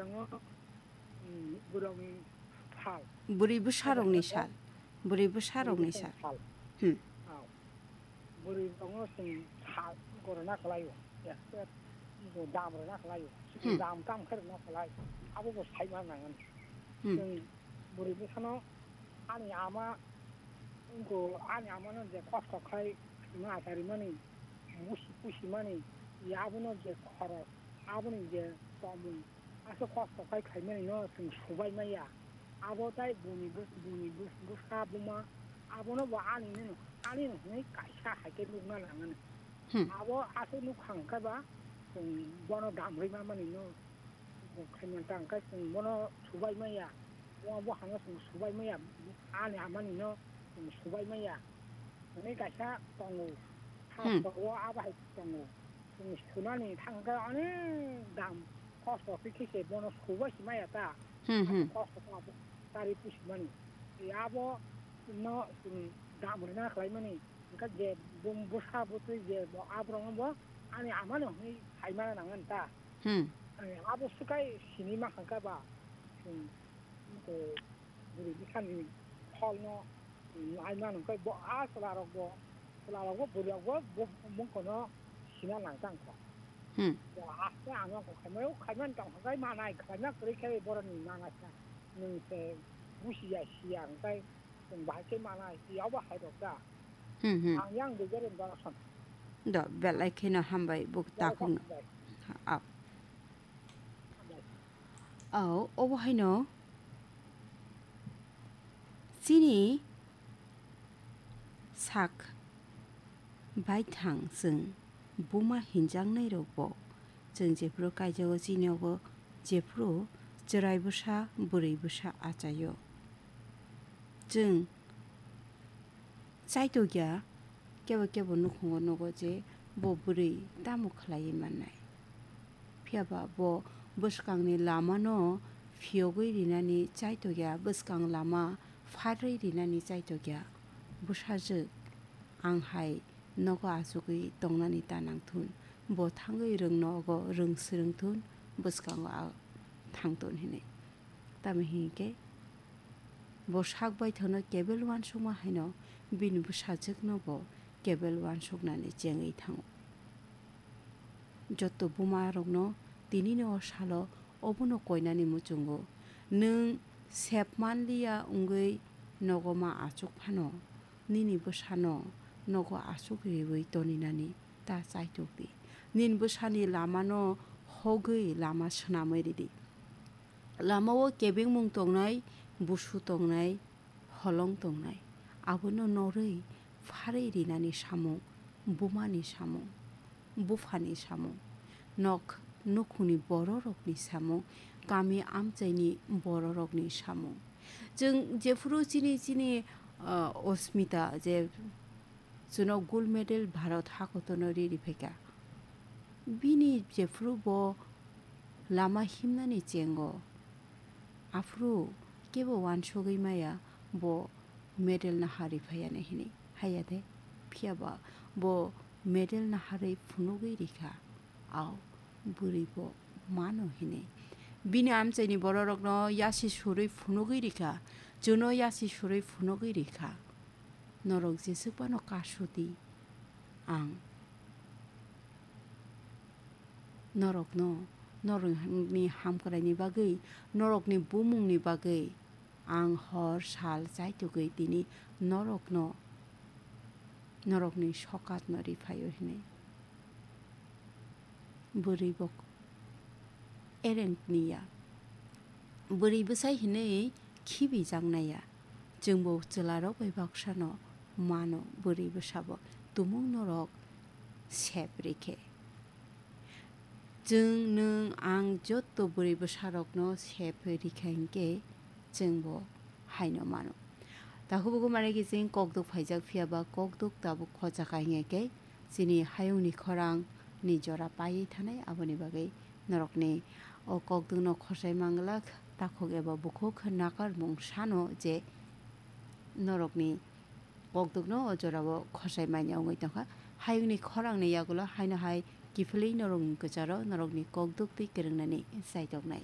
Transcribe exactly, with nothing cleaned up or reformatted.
Ang, mm, bwrwini sal. Bwrwi bwsarokni sal. Bwrwi bwsarokni sal. Sal. Hmm. Aw. Bwrwi tongo chwng sal gorna khlaio. Expert bo dam rwna khlaio. Hmm. Dam kam khe rwna khlai. Abo bo saima nangani. Hmm. Chwng bwrwi bwsano ani ama, wngkho ani amano je kosto khai ma acharimani, busi pusimani, abono je khorok, aboni je tongmung, aswk kosto khai khaimani no chwng subai maya. Abo tai buni bus-, buni bus-, bwsa buma, abono bo ani no, ani no hwnwi kaisa hai khe nukna nangani. Hmm. Abo aswk nukha hwnkhe ba chwng bono dam rwi mamani no. Khaimani ta hwnkhe chwng bono subai maya. Bo, bo hano chwng subai maya. Ani amani no chwng subai maya. Hwnwi kaisa tongo. Hmm. Sastro o abo hai tongo. Chwng sunani thang khe onek dam kosto khe khe se bono subai se maya ta. Hmm, hmm. Kosto khe abo tari pusimani. Tei abo no chwng dam rwna khlaimani. Hwnkhe je bum-, bwsa bwtwi je bo aborokno bo ani amani hwnwi saimana nangani ta. Hmm. Ani abo swkai sini mankha khe ba, hmm, to bwrwi bwsani pholno, hmm, ai mano khe bo a chwlarokbo, chwlarokbo bwrwirokbo bo mungkhono sina nang tang kha. Hmm. To aste ano kho khaimai, o khaimani tong kha khe manai, khaima kwrwi khe boroni manai kha. Nwng se busiya siya hwnkhe Chwng bahai khe manai, tei abo hai rok da. Hmm, hmm. Ang yang de gari borok san. Do, belai kheno hambai buk takhung. Hambai. Au. Hambai. Au, obo haino chini sak baithang chwng buma hinjaknai rokbo chwng jephuru kaijago chini obo jephuru chwrai bwsa bwrwi bwsa achaio. Chwng chaitokya kebo kebo nukhungo nugo je bo bwrwi tamo khlaiwi mannai. Phiya ba bo bwskangni lamano phiyogwi rinani chaitokya, bwskang lama pharwi rinani chaitokya. Bwsajwk, ang hai nogo achugwi tongnani ta nangthun, bo thangwi rwng nogo rwng swrwngthun, bwskango a thangthun hinwi. Tamo hinkhe bo sak baithangno kebel uansukma haino bini bwsajwkno bo kebel uansuknani chengwi thango. Joto bumarokno tinini o salo obono koinani muchungo. Nwng sep manliya wngwi nogo ma achuk phano, nini bwsano nogo achuk riwi toninani ta chaitok di. Nini bwsani lamano hogwi lama swnamwi ridi. Lamao kebengmung tongnai, busu tongnai, holong tongnai. Abono norwi pharwi rinani samung, bumani samung, buphani samung, nok nukhungni bororokni samung, kami amchaini bororokni samung. Chwng jephuru chini, chini, ah, Osmita je chwno gold medal Bharat hakotorno riri phaikha. Bini jephuru bo lama himnani chengo. Aphuru kebo uansugwi maya bo medal naharwi phaiya hinwi. Haiya de, phiya ba bo medal naharwi phunugwi rikha. Au, bwrwi bo mano hinwi. Bini amchaini bororokno yasi surwi phunugwi rikha. Chwno yasi surwi phunugwi rikha. Norok jeswk phano kasuti ang norokno, norokni hamkraini bagwi, norokni bumungni bagwi ang hor sal chaitugwi tini norokno, norokni sokatno riphaio hinwi. Bwrwi bo ereng tniya. Bwrwi bwsai hinwi khibijaknaiya. Chwngbo chwlarok bai baksano mano bwrwi bwsabo tumung norok sep rikhe. Chwng nwng ang jotto bwrwi bwsarokno sep rikha hinkhe chwngbo haino mano. Takhuk bukhuk manwi khe chwng kokduk phaijak phiya ba kokduk tabuk khochakha hinkhe chini hayungni khorang ni jora paiwi thanai, aboni bagwi norokni o kokdukno khosai manglak takhuk eba bukhuk nakarmung sano je norokni kokdukno o jorao khosai manya wngwi tongkha. Hayungni khorangni yagulo haino hai kiphilwi norokni kwcharo norokni kokduk twi kwrwngnani chaitoknai.